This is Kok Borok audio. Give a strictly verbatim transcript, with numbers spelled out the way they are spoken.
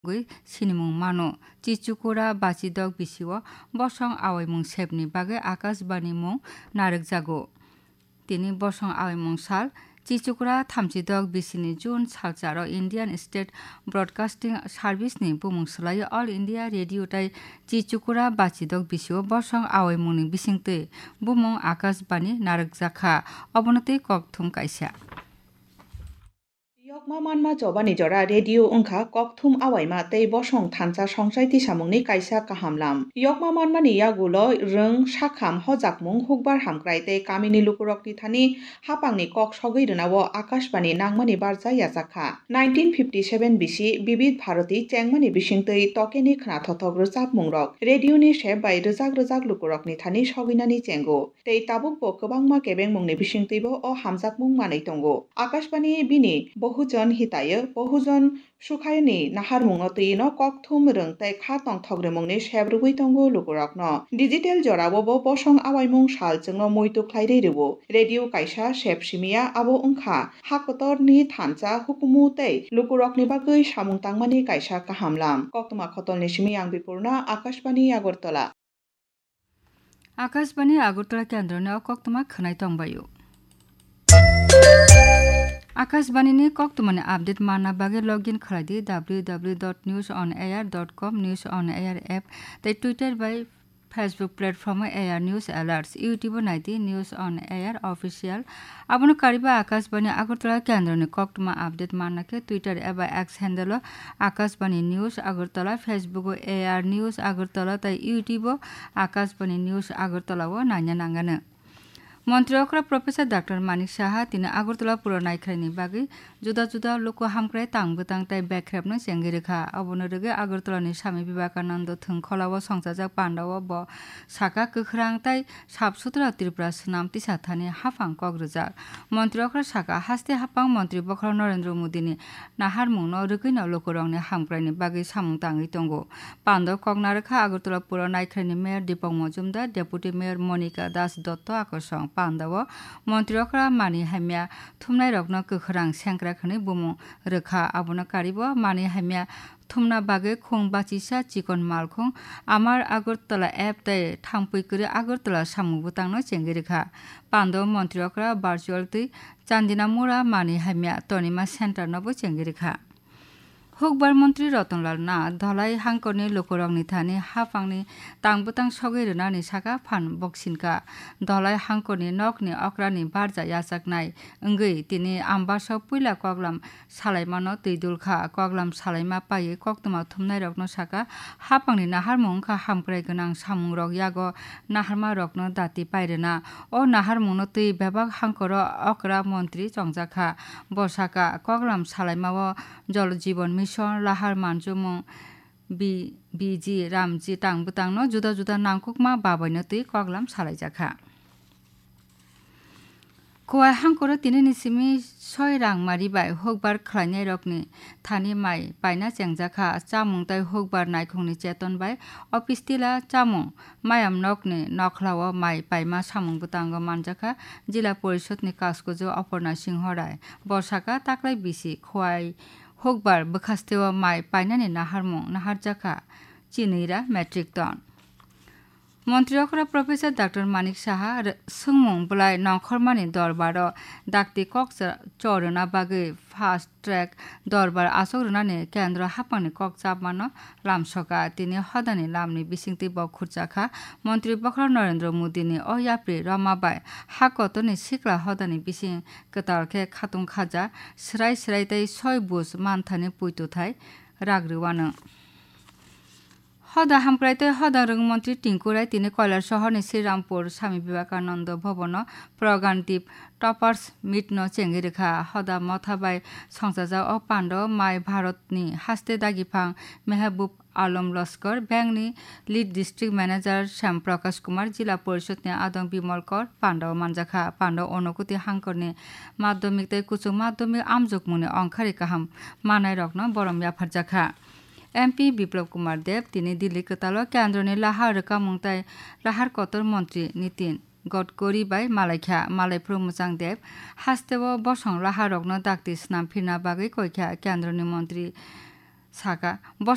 Gwi sinimung mano. Chichukura bachidok bisio bosong awaimung sepni bagwi Akashbani mung narwkjago. Tini bosong awaimung sal, Chichukura thamchidok bisini June salcharo Indian State Broadcasting Service ni bumung swlaiwi All India Radio tai Chichukura bachidok bisio bosong awaimungni bisingtwi bumung Akashbani narwkjakha. Obono tei kokthum kaisa. Yokma manma chobani jora radio wngkha kokthum awaima tei bosong thansa songchai tisamungni kaisa kaham lam. Yokma manmani yagulo rwng, sakham, hojakmung, hukbar hamkrai tei kamini lukurokni thani hapangni kok sogwi rwnao Akashbani nangmani barja yachakha. Nineteen fifty seven bisi Bibid Bharati chengmani bisingtwi tokeni khwnathothok rwchapmungrok radioni sep bai rwjak rwjak lukurokni thani sogwinani chengo. Tei tabukbo kwbangma kebengmungni bisingtwibo o hamjakmung manwi tongo. Akashbani bini Bohujon Hitayo, Bohujon Sukhayoni naharmungno twino kokthum rwng tei kha tongthok rwmungni sep rwui tongo lukurokno. Digital joraobo bosong awaimung sal chwngno muitu khlairwi rwo. Radio kaisa sep simiya abo wngkha ha kotorni thansa hukumu tei lukurokni bagwi samung tangmani kaisa kaham lam. Koktwma khotolni simi ang Bipurna, Akashbani Agartala. Akashbani Agartala kendroni o koktwma khwnai tongbaio. Akashbani ni koktwmani update manna bagwi login khlai di W W W dot news on air dot com, News on Air app tei Twitter bai Facebook platform o A R News Alerts, YouTube o nai di News on Air Official. Abono kariba Akashbani Agartala kendroni koktwma update manna khe Twitter eba X handle o Akashbani News Agartala, Facebook o A R News Agartala tei YouTube o Akashbani News Agartala o naina nangano. Montri okra Professor Doctor Manik Saha tini Agartala puro naikhraini bagwi juda juda luku hamkrai tang bwtang tei bekrepno chengwi rwkha. Obono rwgwi Agartalani Swami Vivekananda thwngkhwlao songchajak pandao bo saka kwkhwrang tei sap sutra Tripura swnam tisa thani haphang kok rwjak. Montri okra saka haste haphang Montri bokhorok Narendra Modini naharmungno rwgwino lukurokni hamkraini bagwi samung tangwi tongo. Pando kok narwkha Agartala puro naikhraini Mayor Deepak Majumdar, Deputy Mayor Monika Das Dotto akosong. Pandao Montri okra mani hamya thumnairokno kwkhwrang sengkrak hwnwi bumung rwkha. Abono karibo mani hamya thumna bagwi khung bachisa chikon malkhung Amar Agartala app tei thangpui kwrwi Agartala samung bwtangno chengwi rwkha. Pando Montri okra virtual twi Chandinamura mani hamya tonima center nobo chengwi rwkha. Hukbar Montri Rotonlal Nath Dholai hangkorni lukurokni thani haphangni tang bwtang sogwi rwnani saka phan boksinka. Dholai hangkorni nokni okrani barja yachaknai wngwi tini Ambasao puila koklam salaimano twi dulkha. Koklam salaima paiwi koktwma thumnairokno saka, haphangni naharmung wngkha hamkrai gwnang samungrok yago naharmarokno dati pairwna. O naharmungno twi bebak hangkoro okra montri chongjakha. Bo saka, koklam salaimao Jal Jeevan Mission, lahar manjumung, B-, B G, Ramji tang bwtangno juda juda nangkukma babaino twi koklam salaijakha. Khowai hangkoro tinini simi soi rangmari bai hukbar khlainairokni thani mai paina chengjakha. Chamung tei hukbar naikhungni cheton bai office tila chamung mayam nokni nokhlao mai paima samung bwtango manjakha. Jila Porishodni Kaskuju Oporna Singho Rai bo saka taklai bisi Khowai hukbar bwkhasteo mai painani naharmung naharjakha chinwi ra metric ton. Montri okra Professor Doctor Manik Saha re-, swngmung bwlai nongkhormani dorbaro dakti kok cha-, chorwna bagwi fast track dorbar achuk rwnani kendro haphangni kok chapmano lamsoka. Tini hodani lamni bisingtwi bo khurchakha. Montri bokhorok Narendra Modini o yapri rwma bai ha kotorni sikla hodani bising kwtal khe khatung khaja, swrai swrai tei soi buj manthani puituthai rak rwwano. Hoda hamkrai tei hoda rwng montri Tinku Rai tini Koilar sohorni Sri Rampur Swami Vivekananda Bhavan-o Pragan Deep Toppers Meet-no chengwi rwkha. Hoda motha bai songchajak o pando mai Bharatni haste dagiphang Mehboob Alam Laskar, Bank-ni Lead District Manager Shyam Prakash Kumar, Jila Porishodni Adong Bimal Kor pando manjakha. Pando Unakoti hangkorni madhyamik tei kuchuk madhyamik amjokmungni ongkhari kaham manairokno borom yapharjakha. M P Biplab Kumar Deb tini Delhi kwtalo kendroni lahar rwkamung tei lahar kotor montri Nitin Gadkari bai malaikha. Malaiphuru Mwchang Deb hasteo bosong laharokno dakti swnam phirna bagwi koikha. Kendroni montri saka,